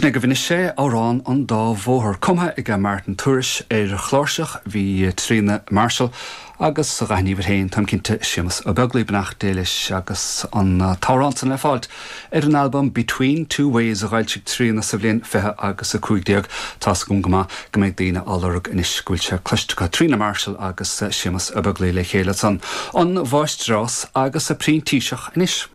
Sin agaibh anois é, Amhrán an Dá Bhóthar, cumtha ag Martin Tourish ar chláirseach, bhí Tríona Marshall agus a ghathghníomhaire féin, táim cinnte, Séamus Ó Beaglaoi, beannacht Dé leis, agus an t-amhrán san le fáilt ar an albam Between Two Ways a dh'fhoilsigh Tríona sa bhliain 20 agus 15. Tá's agam go maith go mbeidh daoine á lorg anois go bhfuil sé cloiste acu. Tríona Marshall agus Séamus Ó Beaglaoi le chéile ansan. An Mháistreás agus a Printíseach anois.